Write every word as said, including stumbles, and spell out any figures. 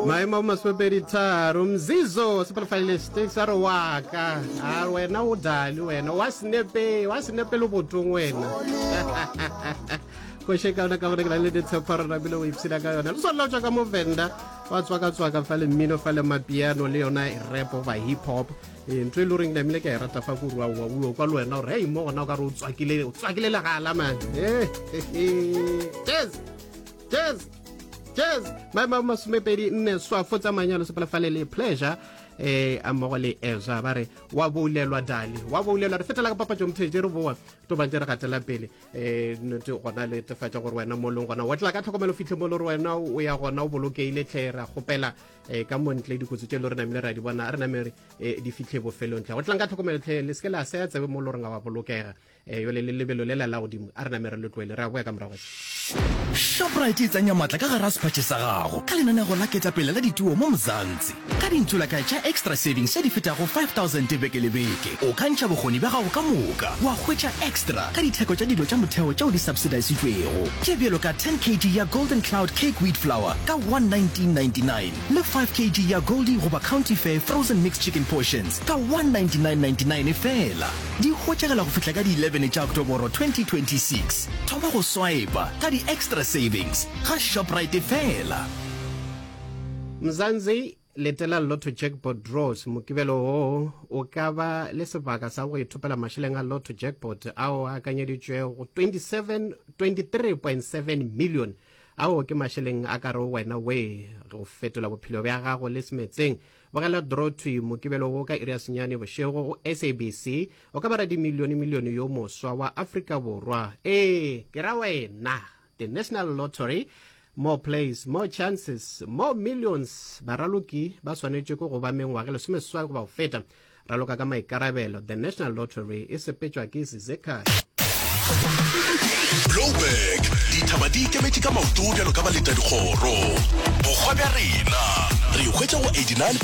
Maemo a masomepedi tharo. Mzizo sepelefalile sticks a re waka a wena o dali wena wa senepe wa senepe le botong wena koše ka yona ka gore ke na le ditshepo re napile o ipshina ka yona le swanela tswa ka movenda wa tswaka-tswaka fa le mmino fa le mapiano le yona rap goba hip hop. Ee, ntho e le goreng namile ke a e rata fa ko rua o kwa le wena gore hei mo gona o ka re o tswakile o tswakile legala man. Cheers, cheers, cheers. Maemo a masomepedi nne swafo tsa manyalo sepelefale le Pleasure eh a mmogo le Ezra ba re wa boulelwa dali wa boulelwa. Re fetela ka papatso mothetse re boa to bantse re gatela pele um gona le tefatša gore wena mo leng gona wa tla ka tlhokomelo fitlhe mo le gore wena o ya gona o bolokeile tlhe. Ra kgopela um ka montle dikotsi tše le re namile ra di bona re name re eh, di fitlhe bofelong tlhe go tlang ka tlhokomelo tlhe le seke la seya tsebe mo le goreng ga wa bolokega um yole le lebelo le la la godimo a re name re le tloele re a boya ka morago. Shoprite e tsenya matla ka gara sephatšhe sa gago ka lenanego la ketapele la dituo mo Mzansi. Ka dintsholakae tša Xtra Savings tše di fetago five thousand beke le beke, o ka ntšha bokgoni bja gago ka moka wa hwetša extra ka ditheko tša dilo tša motheo tšeo di subsidisitšwego tše bjalo ka ten kilograms ya Golden Cloud Cake Wheat Flour ka one nineteen ninety-nine le five kilograms ya Goldie goba County Fair Frozen Mixed Chicken Portions ka one ninety-nine ninety-nine fela. Di hwetšagala go fihla ka di eleven tša Oktoboro twenty twenty-six. Thoma go swipa ka di-Xtra Savings ga Shoprite fela. Mzansi, letela Lotto Jackpot draws Mokibelo wo. O ka ba le sebaka sa go ithopela mašeleng a Lotto Jackpot ao a akanyeditšwego twenty-seven twenty-three point seven million. Ao ke mašeleng a ka re wena we go fetola bophelo bja gago le semetseng. Bogela draw thwi Mokibelo wo ka iri ya senyane bošego go S A B C. O ka ba radimilione milione yo moswa wa Afrika Borwa. Ee, ke ra wena. The National Lottery, more plays, more chances, more millions. Baraloki ba swanetše ke go ba mengwaga lesomeseswai goba go feta. Raloka ka maikarabelo. The National Lottery e sepetšwa ke Zizekaya. Blouberg, dithaba di ikemetše ka maoto bjalo ka baletadikgoro. Bokgwa bja rena re hwetša go eighty-nine.